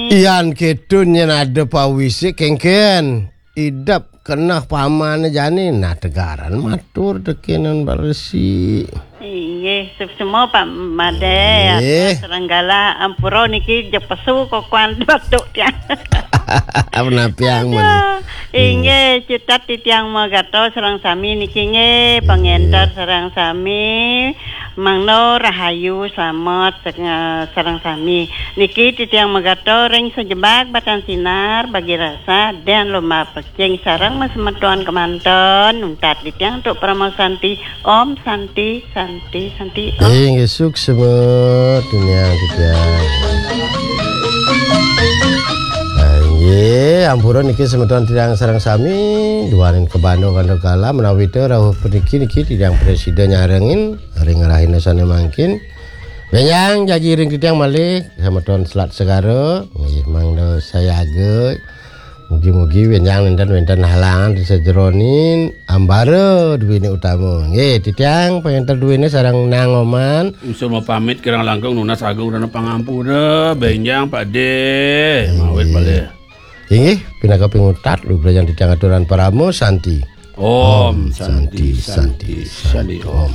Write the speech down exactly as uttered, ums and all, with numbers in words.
Yan kéto yén ada pawisik kéngkén. Idep keneh pamane jani, nah tegaran matur tekenan baresi. Inggih, suksma Pak Made, Inggih. Sareng galah ampura niki jeg pesu kokoan batuk tiang. Apa napiang men? Aduh, inggih, cutet titiang magatra sareng sami niki nggih, pangenter sareng sami. Mangda rahayu, slamet sareng, sareng sami. Niki titiang magatra ring sajebag batan sinar, bagi rasa, dan lomba pekcing sareng masemeton kemanten, nuntat titiang antuk parama santi. Om Santi, Santi, Santi, Om. Inggih, suksma tiniang titiang. Ah, inggih, ampura niki semeton titiang sareng sami, duaning kabanda kala menawi ta rauh puniki niki titiang prasida nyarengin ring rahina sane mangkin. Benjang jagi ring titiang malih, semeton Selat Segara, nggih mangda sayaga. Mugi-mugi benjang nenten wenten halangan ring sajeroning ambara duwene utama. Nggih, titiang pangenter duwene sareng Nang Oman. Usul mapamit kirang langkung nunas agung dana pangampura, benjang Pak De. Mawit Pak De. Inggih, pinaka pingutat, lugrayang titiang aturan parama santi. Om Santi, Santi, Santi, Om.